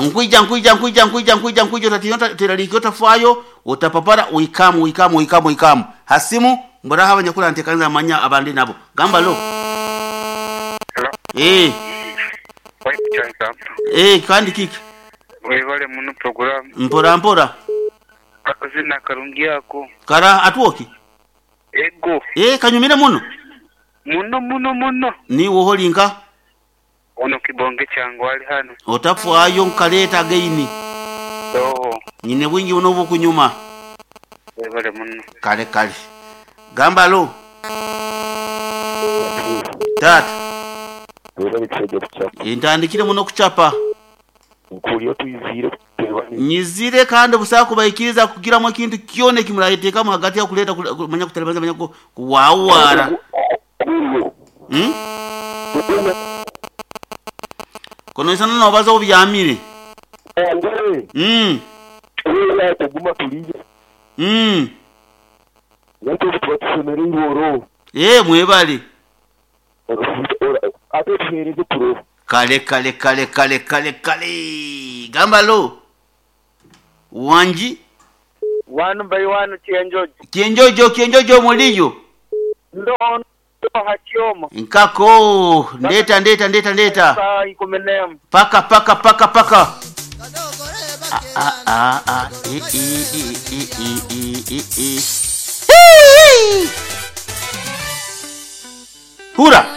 Nkwija nkwija nkwija nkwija nkwija nkwija otatiina oteraliikirira otafaayo otapapara oikamu oikamu oikamu oikamu. Ha simu mburaho abanyakuranteekaniza manya abandi nabo. Gamba lo. Hello. Eeh. Waitu Kyaisampa. Eeh kandi kiki? Webale muno program. Mpora mpora. Akazina karungi ako. Kara atwoki? Ego. Eeh kanyumire muno. Muno muno muno. Niiwe oli nka? Ono kibonge kyange ali hano. Otafaayo nkaleeta again. Oho. Nyine bwingi muno obukunyuma. Webale muno. Kale kale. Gamba lo. Taata. Webale kishaija kuchapa. Ntandikire muno okuchapa. Nkuhurira otwiziire kuteeba ni. Nyizire kandi busaho kubaikiriza kugiramu ekintu kyona eki murayeteekamu hagati aho kuleeta manya kutalibaniza manya kuwawaara. Hmm? Konoisana nobaza obyamire. Mm. Mm. Eeh mwebale. Kale kale kale kale kale kale gamba lo wangi. Wanu by wanu Kyenjojo. Kyenjojo Kyenjojo muliyo? Ndo ha Kyoma. Nkako ndeta ndeta ndeta ndeta. Saa ikumi n'emwe. Paka paka paka paka. Ah ah ah ah e e e e e e e e. Hii! Hura.